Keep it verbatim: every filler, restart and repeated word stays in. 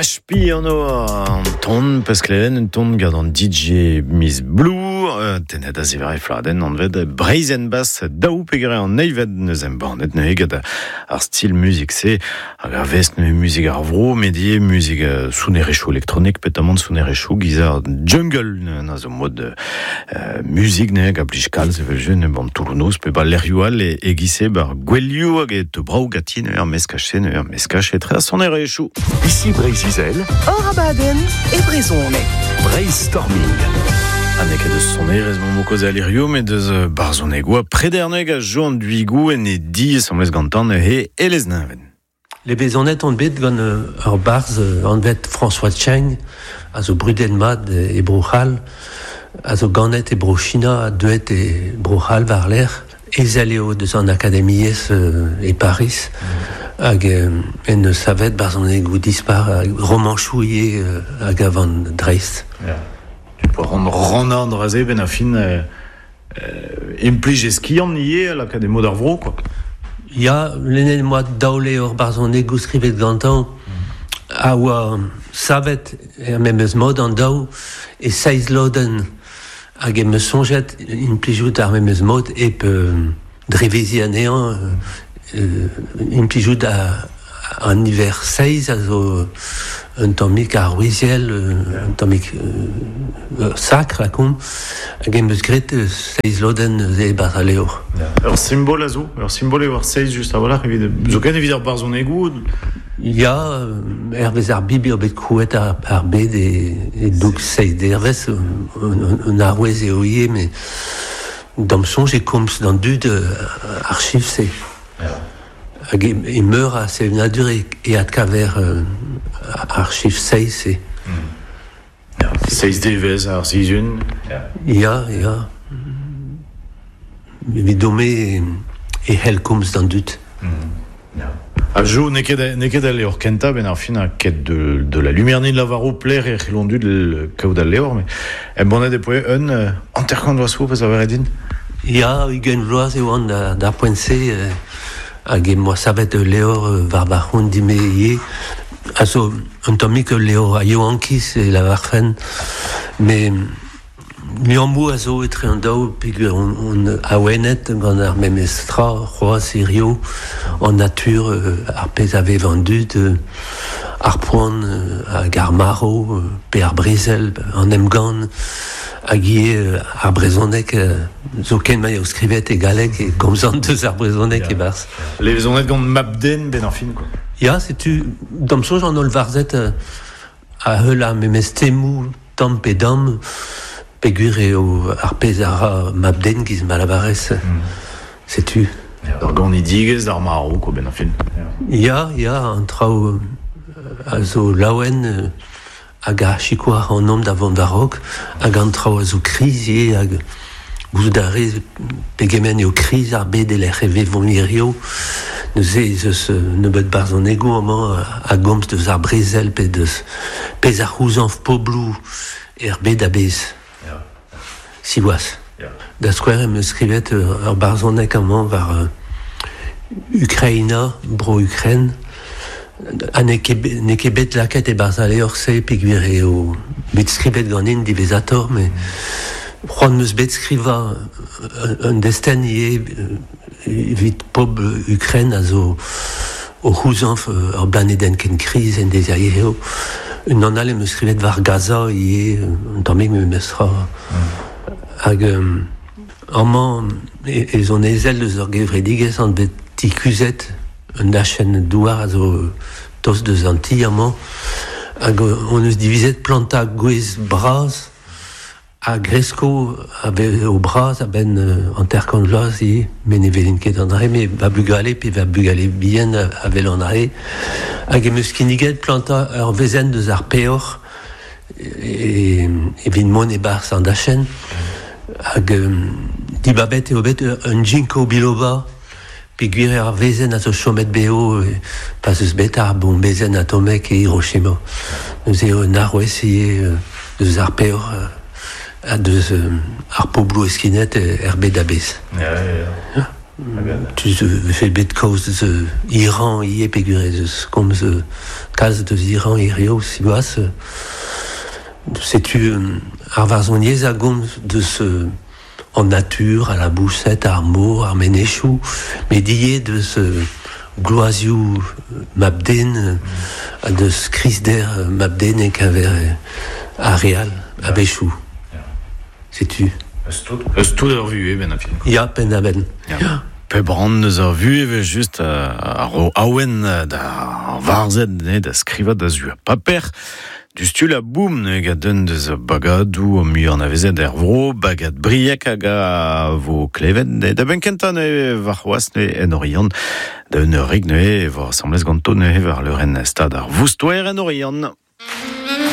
H P an an ton peus klevet un ton gant an D J Miss Blue, euh, tenet a zivare fladen anvet Breizh en Bass daou pegre an neived neus embannet neuze gant ar stil muzik se hag ar vest neuze muzik ar vro medie muzik euh, sonerezhioù elektronik petamant sonerezhioù giz ar jungle na zo mod euh, muzik neuze hag a blij kalz evel je ne ban Toulouse pe ba lec'hioù all e, e gise bar gwelioù hag e te brao gati neuze ar meskache neuze ar meskache tre a sonerezhioù. Ici Breizh-Izel, Hor abadenn e brezhoneg. Brainstorming. Ha n'eo ket eus sonerezh 'maomp o kaozeal hirio, met deus barzhonegoù Prederneg a jo an duigoù en e di asambles gantan he Elez Neñven. Levezonet on bet gant ur barzh anvet François Cheng, a zo brudet mat e Bro-C'hall, a zo ganet e Bro-China, a deuet e Bro-C'hall war-lerc'h, ezel eo deus an akademiezh e Paris, hag en eus savet barzhonegoù dispar, romanchoù ivez hag a van dreist. Yeah. Tu peux rendre rannañ an dra-se ben a fin euh, euh, implij eskiant ivez lakaat e mod ar vro, quoi. Ya, lennet 'm boa daou levr barzhonegoù skrivet gantañ, a oa savet er memes mod an daou e seizh lodenn hag em eus soñjet implijout ar memes mod hep euh, dreveziñ anezhañ euh, implijout a, an niver seizh a zo un tammig aroueziel, un tammig euh, sakr lakaomp, hag em eus graet seizh lodenn neuze e-barzh al levr. Ur simbol a zo, ur simbol eo ar seizh just a-walc'h evit zoken evit ar barzhonegoù. Ya, hervez ar Bibl eo bet krouet ar, ar bed e, e doug seizh dervezh, un, un arouez eo ivez, met d'am soñj e komz d'an dud ar chifr-se. Hag e, e meur a sevenadur e, e adkaver euh, ar chifr seizh-se. Seizh devezh ar sizhun. Ya, ya. Evidon-me e, e c'hell komz d'an dud. A jo, n'eo ket n'eo ket al levr kentañ ben ar fin a ket de, de la lumière ni lavaro pler e c'hellon dud kaout al levr, mais embannet e poe un euh, hanter-kant vloaz zo peus a din. Ya, ugent vloaz e oan da, d'ar poent-se, euh, hag em boa savet ul levr euh, war va c'hont din-me ivez. A zo un tammig ul levr a yaouankiz e lavarfen, met liammoù a zo etre an daou peogwir on, on awenet gant ar memes tra c'hoazh hirio an natur euh, ar pezh a vev an dud euh, ar poan euh, hag ar marv euh, pe ar brezel an emgann hag ivez euh, ar brezhoneg euh, zoken ma eo skrivet e galleg e komzan deus ar brezhoneg Ya. e-barzh. Levezonet gant Mab-Den ben ar fin, quoi. Ya, setu d'am soñj an holl varzhed euh, a heul ar memes temoù tamm pe damm peogwir eo ar pezh a ra Mab-Den giz ma lavarez. Mm. Setu. Ar ganidigezh d'ar marv, quoi, ben ar fin. Ya, ya, an traoù a zo laouen euh, hag a sikour ac'hanomp da vont war-raok hag an traoù a zo kriz ivez hag gouzout a rez pegement eo kriz ar bed e lec'h e vevomp hirio. Neuze ez eus nebeut barzhonegoù amañ a gomz deus ar brezel pe deus pezh a c'houzañv pobloù er bed a-bezh. Ya. Siwazh. Ya. Da skouer em eus skrivet ur barzhoneg amañ war euh, Ukraina, bro Ukraine, ha n'eo ket bet- n'eo ket bet lakaet e-barzh al levr-se peogwir eo bet skrivet ganin diwezhatoc'h, met c'hoant 'm eus bet skrivañ un, un destenn ivez evit pobl Ukraine a zo o c'houzañv ur blanedenn ken kriz en deiz a hirio. Un an all em eus skrivet war Gaza ivez, un tammig memes tra. Hag euh, amañ e, ez on ezel deus ur gevredigezh anvet Ti Kuzhet, un dachenn douar a zo tost deus an ti amañ, hag on eus divizet plantañ gwez bras a gresko a o bras a-benn euh, hanter-kant vloaz ivez, met ne welin ket an dra-se, met va bugale pe va bugale bihan a, a wel an dra-se. Hag em eus kinniget plantañ ur wezenn deus ar peoc'h e, evit mont e-barzh an dachenn. Hag euh, dibabet eo bet un ginkgo biloba, peogwir eo ar wezenn a zo chomet bev e, pa 'z eus bet ar bombezenn atomek e Hiroshima. Neuze eo un arouez ivez euh, deus ar peoc'h euh, ha deus euh, ar pobloù heskinet er bed a-bezh. Ya, ya, ya. Tu fe bet kaoz deus Iran ie peogwir ez eus komz kalz deus Iran hirio siwazh. Setu ar varzhoniezh a gomz deus an natur, a laboused, ar mor, ar menezioù, met ivez deus gloazioù mab-den, deus krizder mab-den e-keñver ar re all, a-wechoù. Setu. Eus tout ur vuhez ben a fin. Ya, penn-da-benn. Ya. Pe brand eus ur vuhez evel just ar ro awen da varzhed ne da skrivañ da zu paper. Du stul a boum ne gant un deus bagadoù mui anavezet er vro, bagad Brieg hag a vo klevet ne da ben kentañ ne warc'hoazh ne en Oriant da un eur ne vo asambles ganto ne war leurenn stad ar Voustoer en Oriant.